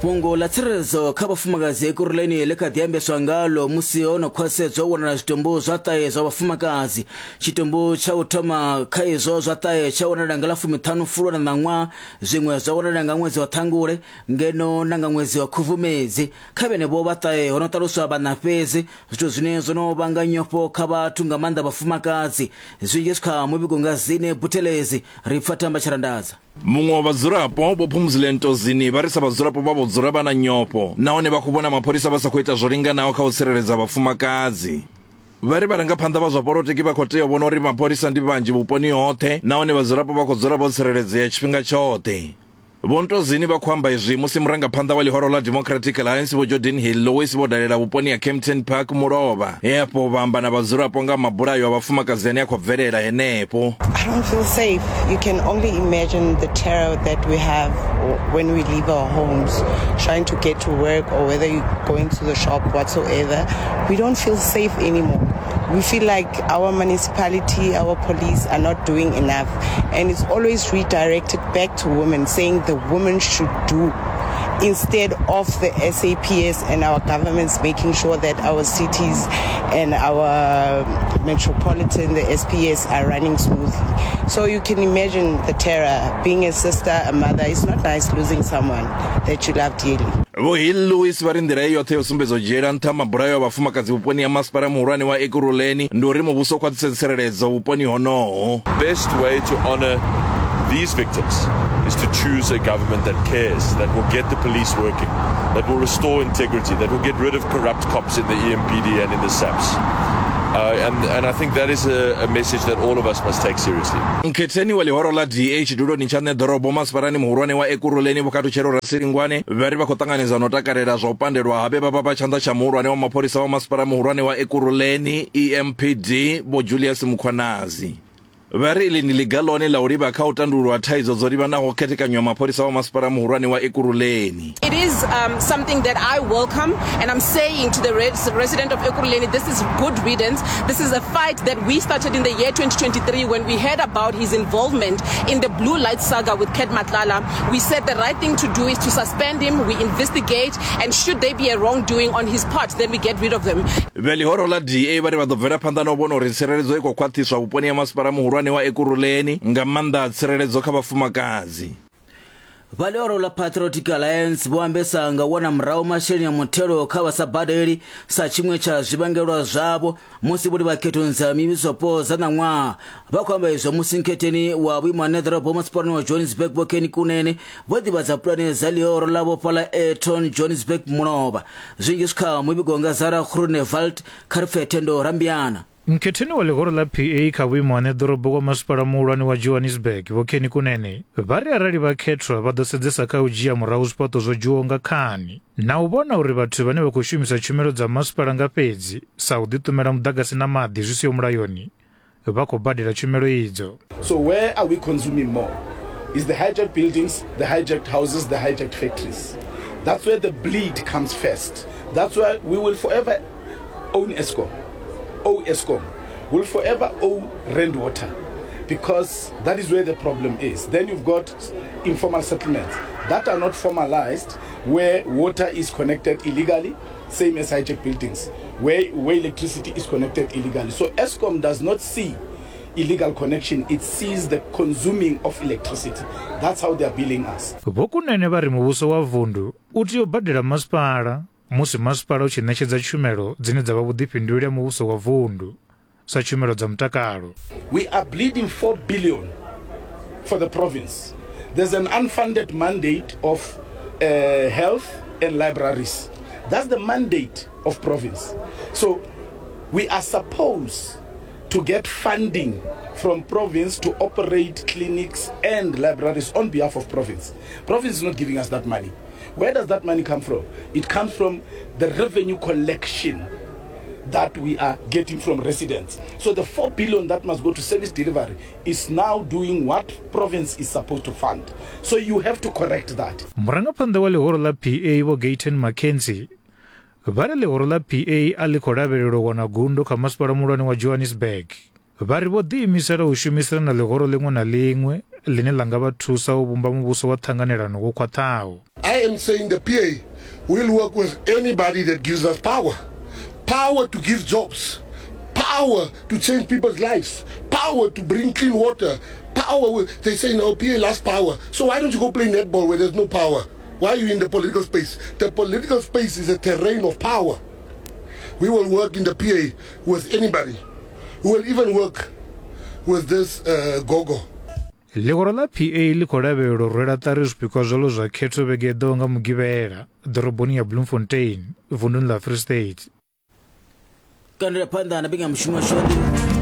Fhungo ḽa tsireledzo kha vhafumakadzi Ekurhuleni ḽi kha ḓi ambeswa ngalo musi ho no khwaṱhisedzwa u wanala zwitumbu zwa ṱahe zwa vhafumakadzi. Tshitumbu tsha u thoma kha izwo zwa ṱahe tsha wanala nga ḽa fumiṱhanu Fulwa na ṋaṅwaha, zwiṅwe zwa wanala nga ṅwedzi wa Ṱhangule ngeno na nga ṅwedzi wa Khubvumedzi. Kha vhenevho vha ṱahe ho no ṱaluswa vhaṋa fhedzi, zwithu zwine zwo no vhanga nyofho kha vhathu nga maanḓa vhafumakadzi. Zwinzhi zwi kha muvhigo nga Zine Buthelezi, ri pfa Thamba Tshirandadza. Muṅwe wa vhadzulapo, Vho Phumzile Ntozini, vha ri sa vhadzulapo vha vho dzula vha na nyofho nahone vha khou vhona mapholisa vha sa khou ita zwo linganaho kha u tsireledza vhafumakadzi. Vha ri vharangaphanḓa vha zwa polotiki vha khou tea u vhona uri mapholisa ndi vhanzhi vhuponi hoṱhe nahone vhadzulapo vha khou dzula vho tsireledzea tshifhinga tshoṱhe. Vho Ntozini vha khou amba izwi musi murangaphanḓa wa ḽihoro ḽa Democratic Alliance Vho Geordin Hill-Lewis vho dalela vhuponi ha Kempton Park mulovha, he afho vha amba na vhadzulapo nga ha mabulayo a vhafumakadzi ane a khou bvelela henefho. I don't feel safe. You can only imagine the terror that we have when we leave our homes, trying to get to work or whether you're going to the shop, whatsoever. We don't feel safe anymore. We feel like our municipality, our police are not doing enough. And it's always redirected back to women, saying the women should do instead of the SAPS and our governments making sure that our cities and our metropolitan, the SPS, are running smoothly. So you can imagine the terror. Being a sister, a mother, it's not nice losing someone that you love dearly. Vho Hill Lewis vha ri nḓila i yoṱhe ya u sumbedza u dzhiela nṱha mabulayo a vhafumakadzi vhuponi ha masipala muhulwane wa Ekurhuleni ndi uri muvhuso u khwaṱhise tsireledzo vhuponi honoho. Best way to honor these victims is to choose a government that cares, that will get the police working, that will restore integrity, that will get rid of corrupt cops in the EMPD and in the SAPS. Uh, and, and I think that is a, a message that all of us must take seriously. Nkhetheni wa ḽihoro ḽa DA tshiduloni tsha ṋeḓorobo masipalani muhulwane wa Ekurhuleni Vho Khathutshelo Rasilingwane vha ri vha khou ṱanganedza na u takalela zwa u pandelwa ha vhe vha vha vha tshanḓa tsha muhulwane wa mapholisa wa masipala muhulwane wa Ekurhuleni EMPD Vho Julius Mkhwanazi. Vha ri iḽi ndi ḽiga ḽone ḽa u livha kha u tandululwa thaidzo dzo livhanaho khethekanyo ya mapholisa wa masipala muhulwane wa Ekurhuleni. It is um, something that I welcome and I'm saying to the res resident of Ekurhuleni, this is good riddance. This is a fight that we started in the year 2023 when we heard about his involvement in the blue light saga with Cat Matlala. We said the right thing to do is to suspend him, we investigate, and should there be a wrongdoing on his part, then we get rid of them. Vhe ḽihoro ḽa DA vha ri vha ḓo bvela phanḓa na u vhona uri tsireledzo i khou khwaṱhiswa vhuponi ha masipala muhulwane wa Ekurhuleni, nga maanḓa tsireledzo kha vhafumakadzi. Vha ḽihoro ḽa Patriotic Alliance vho ambesa nga u wana murahu masheleni a muthelo kha vha sa badeli sa tshiṅwe tsha zwivhangelwa zwavho musi vho livha khethoni dza mivhusopo dza ṋaṅwaha. Vha khou amba izwo musi nkhetheni wa vhuimo ha ṋeḓorobo masipalani wa Johannesburg Vho Kenny Kunene vho ḓivhadza pulane dza ḽihoro ḽavho fhaḽa Airton Johannesburg mulovha. Zwinzhi zwi kha muvhigo nga Zara Groenewald kha ri pfe Thendo Rambiana. Nkhetheni wa ḽihoro ḽa PA kha vhuimo ha ṋeḓorobo wa masipala muhulwane wa Johannesburg Vho Kenny Kunene vha ri arali vha khethwa vha ḓo sedzesa kha u dzhia murahu zwifhaṱo zwo dzhiwaho nga khani na u vhona uri vhathu vhane vha khou shumisa tshumelo dza masipala nga fhedzi sa u ḓiṱumela muḓagasi na maḓi zwi siho mulayoni vha khou badela tshumelo idzo. So where are we consuming more? Is the hijacked buildings, the hijacked houses, the hijacked factories. That's where the bleed comes first. That's why we will forever own Eskom, owe Eskom, will forever owe Rand Water, because that is where the problem is. Then you've got informal settlements that are not formalized, where water is connected illegally, same as hijacked buildings, where, where electricity is connected illegally. So Eskom does not see illegal connection, it sees the consuming of electricity. That's how they are billing us. Vho Kunene vha ri muvhuso wa vundu u tea u badela masipala musi masipala u tshi ṋetshedza tshumelo dzine dza vha vhuḓifhinduleli ha muvhuso wa vundu sa tshumelo dza mutakalo. We are bleeding 4 billion for the province. There's an unfunded mandate of uh, health and libraries. That's the mandate of province. So we are supposed to get funding from province to operate clinics and libraries on behalf of province. Province is not giving us that money. Where does that money come from? It comes from the revenue collection that we are getting from residents. So the 4 billion that must go to service delivery is now doing what province is supposed to fund. So you have to correct that. Murangaphanḓa wa ḽihoro ḽa PA Vho Gayton McKenzie vha ri ḽihoro ḽa PA a ḽi khou lavhelelwa u wana gundo kha masipala muhulwane wa Johannesburg. Vha ri vho ḓiimisela u shumisana na ḽihoro ḽiṅwe na ḽiṅwe ḽine ḽa nga vha thusa u vhumba muvhuso wa ṱhanganelano wo khwaṱhaho. I am saying the PA will work with anybody that gives us power. Power to give jobs, power to change people's lives, power to bring clean water, power. They say no, PA loves power. So why don't you go play netball where there's no power? Why are you in the political space? The political space is a terrain of power. We will work in the PA with anybody. We will even work with this uh, gogo. Ḽihoro ḽa PA ḽi khou lavhelelwa u rwela ṱari zwipikwa zwaḽo zwa khetho vhege i ḓaho nga Mugivhela ḓoroboni ya Bloemfontein, vunduni ḽa Free State. Kandela phanḓa na mbekanyamushumo yashu ya nḓivho.